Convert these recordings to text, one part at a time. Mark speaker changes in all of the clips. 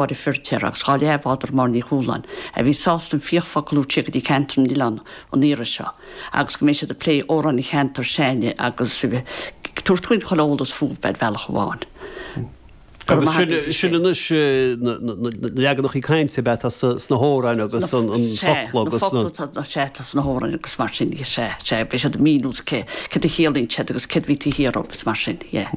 Speaker 1: Máire Firtéar agus dhá leathbhádóir Máire Ní Chualáin, a bhí sásta an fiach-fhocal a thabhairt siar go dtí ceantar na nOileán an iarraidh seo agus go mbeidh siad ag plé amhráin an cheantair s'againne agus ag tabhairt dúinn chuile eolas fúthu ar bhealach amháin.
Speaker 2: Go raibh maith agat. Sin anois na leaganachaí cainte ab ea atá sna hamhráin agus an focla agus na.
Speaker 1: Na focla sea atá sna hamhráin agus mar sin de, sea, sea. Beidh siad ag míniú cé, céard a chiallaíonn siad agus céard a bhí taobh thiar dhóibh agus mar sin, yeah.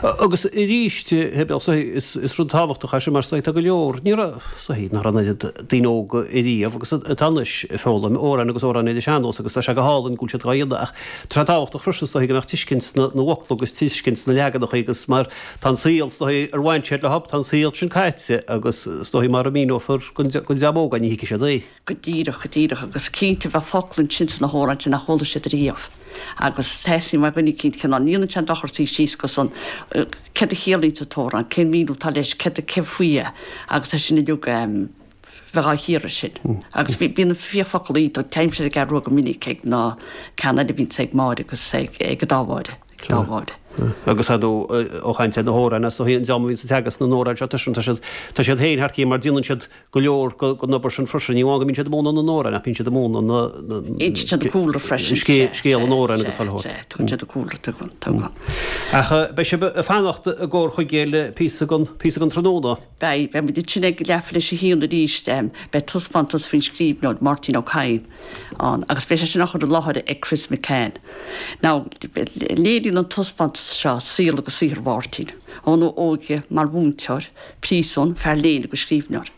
Speaker 2: Agus arís, is rud tábhachtach é sin mar is dóigh tá go leor, ní raibh, is dóigh nach raibh an oiread daoine óga ariamh agus atá anois ag foghlaim amhráin agus amhráin ar an sean-nós agus tá sé go hálainn go bhfuil siad dhá dhéanamh ach tá sé tábhachtach freisin is dóigh go mbeadh tuiscint na bhfocla agus tuiscint na leaganacha agus mar tá an saol is dóigh ar bhain siad leo, tá an saol sin caite agus is dóigh mara míneofar don dream óg é ní thuigfidh siad é.
Speaker 1: Go díreach, go díreach, agus cinnte bheadh focla ansin sna hamhráin sin nach chuala siad riamh. Agus theastaigh ó dhuine eicínt cineál, ní dhéanann sé aon dochar suí síos agus an, céard a chiallaíonn an t-amhrán, cén míniú atá leis, céard, cé faoi é, agus tá sin uilig, bheith á chíoradh sin. Agus bhí, bíonn an fiach-fhocal iontach, téimse ar an gCeathrú Rua go minic ag na ceann eile a bhíonns ag Máire agus ag, ag an dá Mháire, ag an dá Mháire.
Speaker 2: Agus ar ndóigh, ó chaint ar na hamhráin, is dóigh an dream a bhíonns ag teagasc na n-amhrán seo, tá siad, tá siad féin thar cionn mar déanann siad go leor den obair sin freisin. Ní amháin go mbíonn siad ag múineadh na n-amhrán ach bíonn siad ag múineadh na.
Speaker 1: Insíonn siad an cúlra freisin.
Speaker 2: Scéal an amhráin agus chuile shórt.
Speaker 1: Sea, tugann siad an cúlra, tugann, tugann.
Speaker 2: Ach beidh sibh ag fanacht i gcomhair chuige le píosa den, píosa den tráthnóna.
Speaker 1: Beidh, beidh muid ansin ag leathuair tar éis a haon arís. Beidh taispeántas faoin scríbhneoir, Máirtín Ó Cadhain, ann agus beidh sé sin á chur i láthair ag Chris McCann. Now, léiríonn an taispeántas seo saol agus saothar Mháirtín, óna óige mar mhúinteoir, príosún, fear léinn agus scríbhneoir.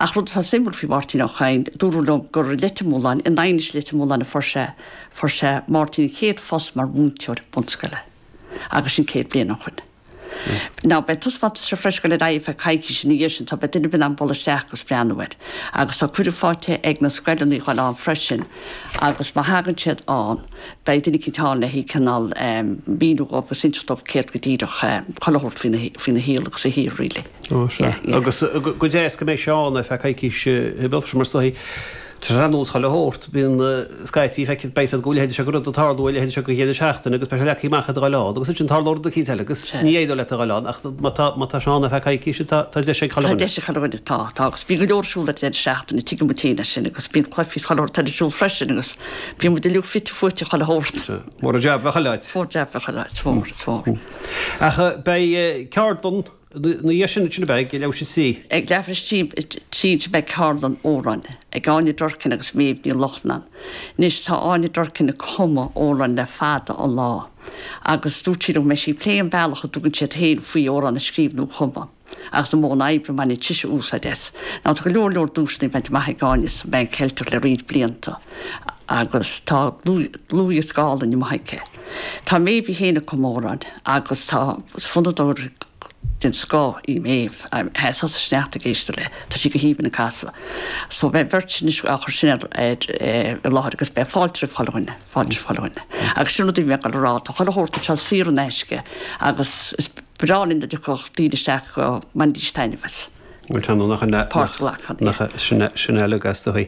Speaker 1: Ach rud atá suimiúil faoi Mháirtín Ó Cadhain, dúradh liom gur i Leitir Mealláin, in Aighnis Leitir Mealláin a fuair sé, fuair sé, Máirtín a chéad phost mar mhúinteoir bunscoile. Agus sin 100 bliain ó shoin. Now, beidh an taispeántas seo freisin ag dul ar aghaidh ar feadh coicíse ina dhiaidh sin, so beidh duine ar bith in ann bualadh isteach agus breathnú air. Agus tá cuireadh faighte ag na scoileanna a dhul ann freisin agus má thagann siad ann, beidh duine eicínt ann le cineál míniú dhóibh agus inseacht dóibh céard go díreach chuile shórt faoina shaol agus a shaothar really.
Speaker 2: Ó, sea. Agus go deas go mbeidh sé ann ar feadh coicíse, mar is dóigh, tá sé ar nós chuile shórt, bíonn scaití, feicfidh, beidh siad go leithéid seo de rud ag tarlú, a leithéid seo de dheireadh seachtaine agus beidh sé leagtha amach ag dul ann agus ansin tarlóidh rud eicínt eile agus ní éireoidh leat a dhul ann ach má tá, má tá sé ann ar feadh coicíse tá, tá deis ag chuile
Speaker 1: Tá deis ag chuile dhuine, tá, tá agus bíonn go leor ar siúl ar an deireadh seachtaine, tuigeann muid féin é sin agus bíonn cluichí is chuile shórt eile ar siúl freisin agus bíonn muid uilig fite fuaite chuile shórt.
Speaker 2: Mór an jab bheith chuile áit.
Speaker 1: Mór an jab bheith chuile áit, mór, mór.
Speaker 2: Ach beidh ceardlann ina dhiaidh sin ansin ab ea ag leathuair tar éis a trí.
Speaker 1: Ag leathuair tar éis a trí ansin beidh ceardlann amhráin ag Áine Durkin agus Méabh Ní Lochlainn. Anois tá Áine Durkin ag cumadh amhráin le fada an lá agus dúirt sí liom go mbeidh sí ag plé an bealach a dtugann siad féin faoi amhrán a scríobh nó a chumadh agus an modh oibre a mbaineann sise úsáid as. Now tá go leor leor duaiseanna bainte amach ag Áine sa Mheán Ceilteach le roinnt blianta agus tá dlúthdhiosca álainn amuigh aici. Tá Méabh í féin ag cumadh amhráin agus tá fonnadóir den scoth í Méabh. Sheasfá sa sneachta ag éisteacht léi. Tá sí go haoibhinn ag casadh. So beidh an bheirt sin anois á chur sin ar i láthair agus beidh fáilte roimh chuile dhuine, fáilte roimh chuile dhuine. Agus sin rud a bhí mé ag dul a rá, tá chuile shórt anseo saor in aisce agus is breá linn dá dtiocfadh daoine isteach go mbainfidís taitneamh as.
Speaker 2: Bhuel tá nó nach in
Speaker 1: Páirt a ghlacadh,
Speaker 2: nach sin sin uilig as do thaobh.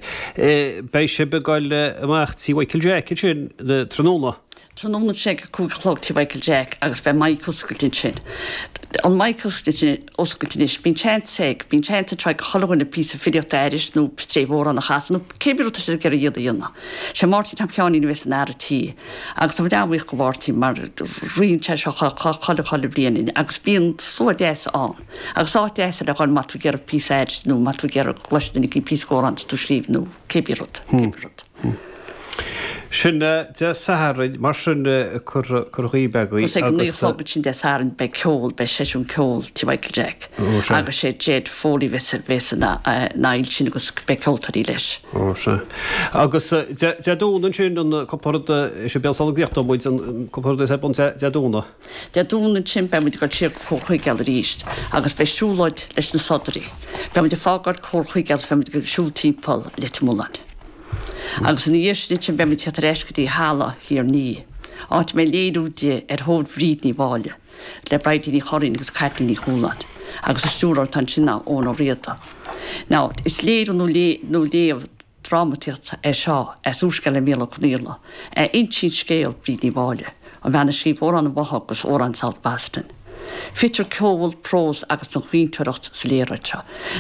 Speaker 2: Beidh sibh ag dul amach tí Mhichael Jack ansin tráthnóna.
Speaker 1: Tráthnóna ansin ag a 5 a chlog tí Mhichael Jack agus beidh mic oscailte ansin. An mic oscailte oscailte anois, bíonn seans ag, bíonn seans anseo ag chuile dhuine píosa filíochta a aithris nó stréif amhrán a chasadh nó cé bith rud atá siad ag iarraidh a dhéanamh. Sé Máirtín Tom Sheáinín a bheas ina fhear an tí agus tá muid an-bhuíoch go Mháirtín mar ritheann sé seo chuile chuile bhliain agus bíonn slua deas ann. Agus áit deas le dhul má tá tú ag iarraidh píosa a aithris nó má tá tú ag iarraidh go gcloisfidh duine éicint píosa d'amhrán atá tú a scríobh nó cé bith rud, cé bith rud.
Speaker 2: Sin Dé Sathairn, mar sin cur dhaoibh agaibh
Speaker 1: Agus ag a naoi a chlog ansin Dé Sathairn beidh ceol, beidh seisiún ceoil tí Mhichael Jack agus sé Jed Foley bheas bheas ina fhile sin agus beidh ceoltóirí leis.
Speaker 2: Ó sea. Agus Dé Domhnaigh ansin an cúpla rud, is é Béal Sula gcríochnóidh muid an cúpla rud is ar bun Dé Domhnaigh.
Speaker 1: Dé Domhnaigh ansin beidh muid ag dul siar go Comhar Chuigéal arís agus beidh siúlóid leis na Sodairí. Beidh muid ag fágáil Comhar Chuigéal agus beidh muid ag siúl timpeall Leitir Mealláin. Agus ina dhiaidh sin ansin beidh muid ag teacht ar ais go dtí Halla Thír an Fhia, áit a mbeidh léiriú di Ar Thóir Bhríd Ní Mháille le Bridie Ní Churraoin agus Caitlín Ní Chualáin agus an stiúrthóir atá ansin ná Eoin Ó Riada. Now, is léiriú nó léamh drámataíocht é seo as úrscéal le Mícheál Ó Conghaile, a insíonn scéal Bhríd Ní Mháille, an bhean a scríobh Amhrán an Bhotha agus Amhrán South Boston. Fitear ceol, prós agus an chaointeoireacht sa léaráid seo.